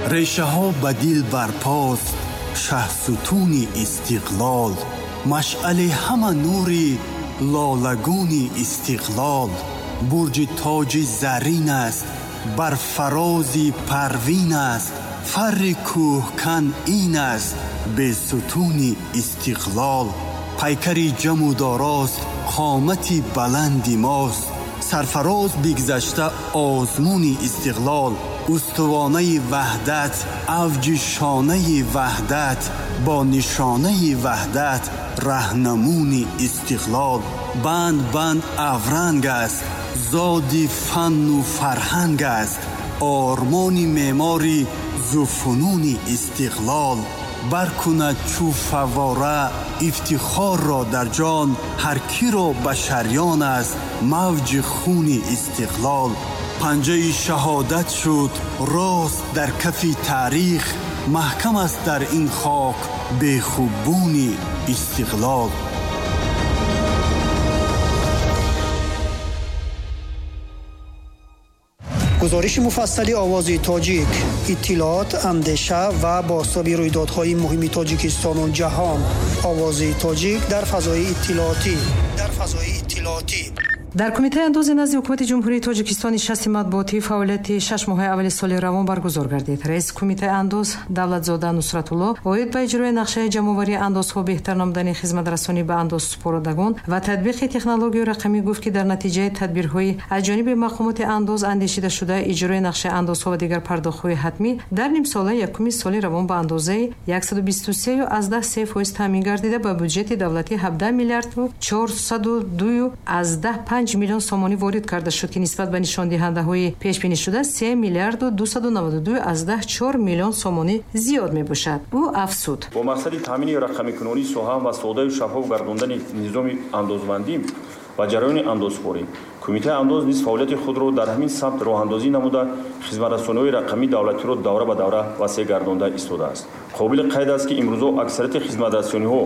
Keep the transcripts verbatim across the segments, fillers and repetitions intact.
Решаҳо ба дил барпост, шаҳсутуни истиқлол, машъали ҳама нури лолагуни истиқлол, бурҷи тоҷи зарин аст, бар фарози парвин аст, фарри кӯҳкан ин аст, бесутуни истиқлол, пайкари ҷаму дорост, қомати баланди мост, сарфароз бигзашта озмуни истиқлол, устувонаи ваҳдат, авҷи шонаи ваҳдат, бо нишонаи ваҳдат, раҳнамуни истиқлол, банд банд авранг аст, зоди фанну фарҳанг аст, ормони меъмори зуфунуни истиқлол, баркунад чу фаввора ифтихорро дар ҷон, ҳар киро ба шарён аст мавҷи хуни истиқлол, панҷаи шаҳодат шуд рост дар кафи таърих, маҳкам аст дар ин хок бехубуни истиқлол. Гузориши муфассали овози тоҷик, иттилоот, андеша ва бозтоби рӯйдодҳои муҳими Тоҷикистону ҷаҳон. Овози тоҷик дар фазои иттилоотӣ. Дар фазои иттилоотӣ. Дар Кумитаи андози назди Ҳукумати Ҷумҳурии Тоҷикистон нишасти матбуотии фаъолияти шаш моҳаи аввали соли равон баргузор гардид. Раиси Кумитаи андоз Давлатзода Нусратулло оид ба иҷрои нақшаи ҷамъоварии андозҳо, беҳтар намудани хизматрасонӣ ба андозсупорандагон ва татбиқи технологияи рақамӣ гуфт, ки дар натиҷаи тадбирҳои аз ҷониби мақомоти андоз андешида шуда иҷрои нақшаи андозҳо ва дигар пардохтҳои ҳатмӣ дар нимсолаи якуми соли равон ба андозаи яксаду бисту се фоиз таъмин гардида ба бюҷети давлатӣ ҳабдаҳ миллиарду чорсаду ду аз даҳ панҷ миллион сомонӣ ворид карда шуд, ки нисбат ба нишондиҳандаҳои пешбинишуда се миллиарду дусаду наваду ду аз даҳ чор миллион сомонӣ зиёд мебошад. Ӯ афзуд: бо мақсади таъмини рақамикунонии соҳа ва содаю шаффоф гардондани низоми андозбандӣ ва ҷараёни андозхӯрӣ, Кумитаи андоз низ фаъолияти худро дар ҳамин самт роҳандозӣ намуда, хизматрасониҳои рақамии давлатиро давра ба давра васеъ гардонда истодааст. Қобили қайд аст, ки имрӯзо аксарияти хизматрасониҳо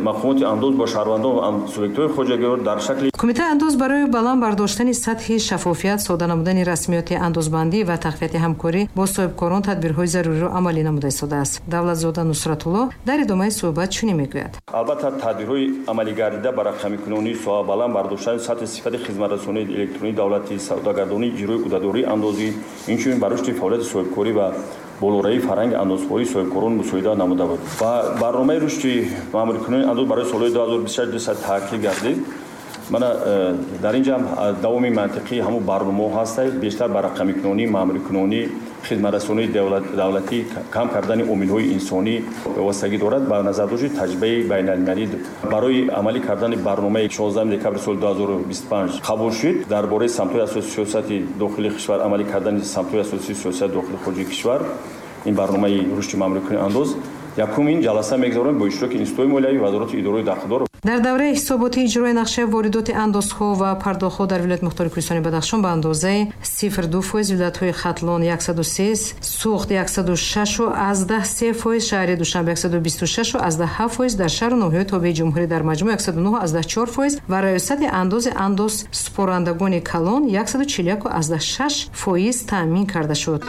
мақомоти андоз бо шаҳрвандон ва субъектҳои хоҷагиро дар шакли Кумитаи андоз барои баланд бардоштани сатҳи шаффофият, сода намудани расмиёти андозбандӣ ва тақвияти ҳамкорӣ бо соҳибкорон тадбирҳои заруриро амалӣ намуда истодааст. Давлатзода Нусратулло дар идомаи суҳбат чунин мегӯяд: албатта, тадбирҳои амалигардида ба рақамикунонии соҳа, баланд бардоштани сатҳи сифати хизматрасонии электронии давлатӣ, савдогардонии иҷрои ӯҳдадории андозӣ, инчунин ба рушди фаъолияти соҳибкорӣ ва болоравии фарҳанги андозхӯрии соҳибкорон мусоидат намуда буд. Ва барномаи рушди маъмурикунонии андоз барои солҳои ду ҳазору бисту шаш ду сад таъкид гардид. Мана дар инҷа давоми мантиқии ҳамун барномаҳо ҳастанд, бештар ба рақамикунонӣ, маъмурикунонӣ, хизматрасонии давлатӣ, кам кардани омилҳои инсонӣ вобастагӣ дорад. Ба назардошти таҷрибаи байналмилалӣ барои амалӣ кардани барномаи шонздаҳуми декабри соли ду ҳазору бисту панҷ қабул шуд дар бораи самтҳои асосии сиёсати дохилии кишвар, амалӣ кардани самтҳои асосии сиёсати дохилии хориҷии кишвар, ин барномаи рушди маъмурикунонии андоз якумин ҷаласа мегузаронем бо иштироки институтҳои молиявӣ, вазорати идораҳои дахлдор. Дар давраи ҳисоботи иҷрои нақшаи воридоти андозҳо ва пардохтҳо дар вилояти мухтори Кӯҳистони Бадахшон ба андозаи сифр ду фоиз, вилоятҳои Хатлон яксаду се, Суғд яксаду шаш аз даҳ се фоиз, шаҳри Душанбе яксаду бисту шаш аз даҳ ҳафт фоиз, дар шаҳру ноҳияҳои тобеи ҷумҳурӣ дар маҷмӯъ яксаду нӯҳ аз даҳ чор фоиз ва раёсати андози андозсупорандагони калон яксаду чилу як аз даҳ шаш фоиз таъмин карда шуд.